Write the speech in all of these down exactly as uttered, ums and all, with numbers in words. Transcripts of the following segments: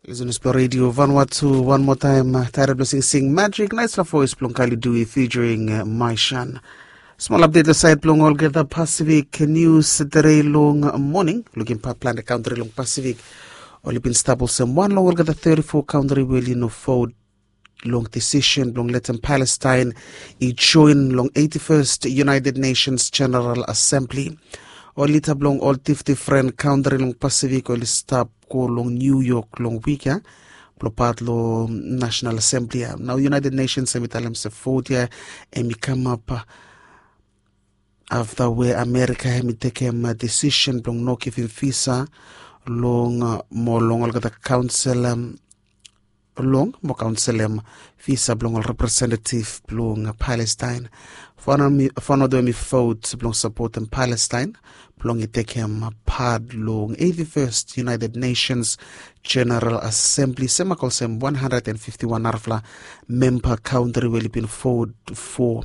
Lisenas blong redio Vanuatu, wan moa taem, taere blong singsing Magic, naesla voes blong Kali Dui featuring Maishan. Smol apdet long saed blong olgeta Pasifik nius. Tere long moning, lukim pat plante kantri long Pasifik oli bin stap olsem wan long olgeta teti fo kantri we oli no vot long disisen blong letem Palestaen i joen long eighty-first United Nations General Assembly. Ol lida blong ol difdifren kantri long Pasifik oli stap go long New York long wik ya blong pat long National Assembly ya. Nao United Nations hem i talem se vot ya hem i kamap afta we Amerika hem i tekem disisen blong no givim visa long mo long olgeta kaonsel long mo kaonselem visa blong ol representetiv blong Palestaen. Fanodem i vot blong sapotem Palestaen blong i tekem pat long eighty-first United Nations General Assembly, semak olsem wan handred and fifti wan narafala memba kantri we oli bin vot fo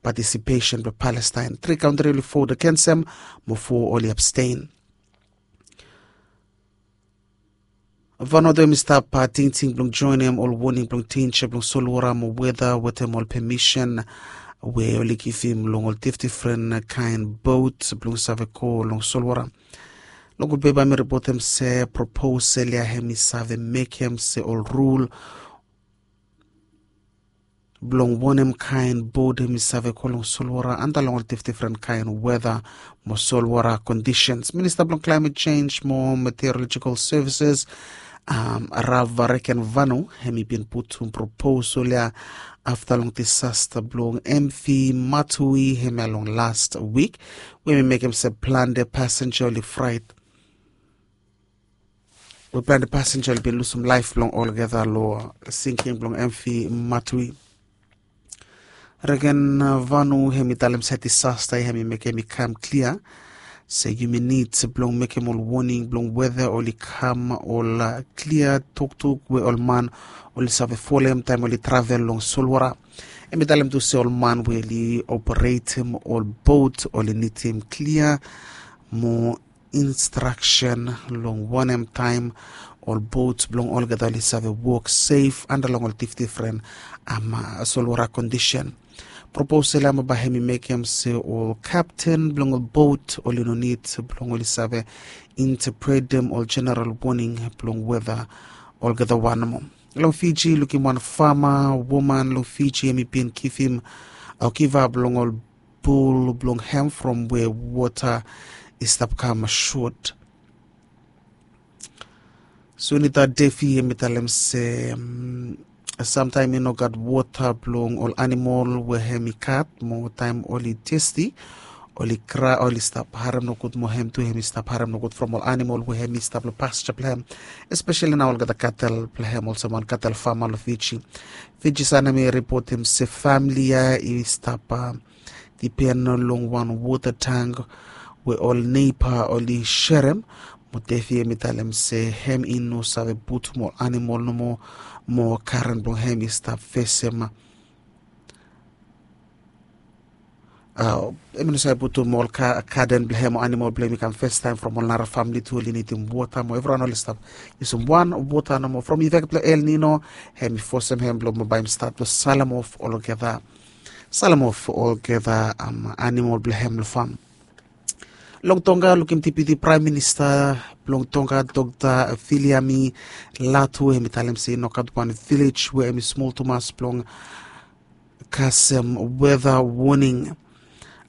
patisipesen blong Palestaen. Tri kantri oli vot agensem mo fo oli abstein. Vanuatu hem i stap tingting blong joenem ol woning blong denja blong solwora mo weta wetem ol pemisen we oli givim long ol difdifren kaen bot blong save go long solwora. Long gud pepa hem i ripotem se proposal ya hem i save mekem se ol rul blong wanem kaen bot hem i save go long solwara anda long ol difdifren kaen weta mo solwara kondisens. Minista blong Climate Change mo Meteorological Services, Rav Varekenvanu, hem i bin putum proposal ya afta long disasta blong MV Matui hemia long last wik, we hem i mekem se plante pasenja oli fraet we plante pasenja oli bin lusum laef blong olgeta long sinking blong MV Matui. Reken Vanu hem i talem se disasta ya hem i mekem i kam klia se yumi nid blong mekem ol woning blong weta oli kam ol klia toktok we ol man oli save folem taem oli travel long solwara. Hem i talem tu se ol man we oli operetem ol bot oli nidim klia mo instraksen long wanem taem ol bot blong olgeta oli save wok sef anda long ol difdifren solwara kondisen. Proposal ya mo bae hem i mekem se ol kapten blong ol bot oli no nid blong oli save intepretem ol jeneral woning blong weta olgeta wan nomo. Long Fiji, lukim wan fama woman long Fiji hem i bin givim o givap long ol bul blong hem from we wota i stap kam sot. Sunita Devi hem i talem se samtaem i no gat wota blong ol animol we hem i gat mo taem oli testi oli kra oli stap harem nogud mo hem tu hem i stap harem nogud from ol animol we hem i stap long pasture blong hem, espeseli nao olgeta katel blong hem olsem wan katel fama long Fiji. Fiji Sun hem i ripotem se famili ya i stap dipen long wan wota tang we ol neiba oli serem. Mo Devi hem i talem se hem i no save putum ol animol nomo mo karen blong hem i stap fesem. Hem i no save putum ol gaden blong hem o animol blong hem i kam fastaem from ol nara famili tu oli nidim wota mo evriwan oli stap yusum wan wota nomo from ifek blong El Nino. Hem i fosem hem blong bae hem stat blong salem of olgeta salem of olgeta animol blong hem long fam. Long Tonga, lukim Deputy Prime Minister blong Tonga, Doctor Viliami Latu, hem i talem se i no gat wan vilej we hem i smol tumas blong kasem weather warning.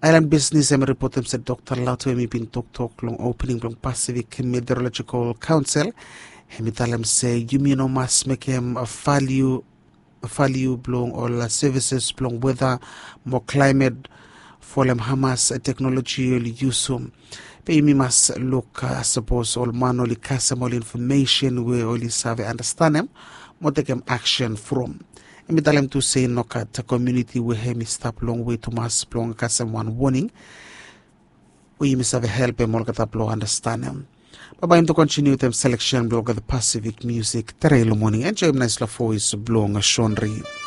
Aelan Bisnis hem i ripotem se Doctor Latu hem i bin toktok long opening blong Pacific Meteorological Council. Hem i talem se yumi no mas mekem valiu valiu blong ol services blong weather mo climate folem hamas teknoloji oli yusum. Be yumi mas luk sapos ol man oli kasem ol infomesen we oli save anastanem mo tekem aksen from. Hem i talem tu se i no gat komuniti we hem i stap longwe tumas blong kasem wan woning we yumi save helpem olgeta blong anastanem. Babae yumi tu kontiniu wetem seleksen blong olgeta Pasifik musik tere long moning. Enjoem naesla voes blong Sonri.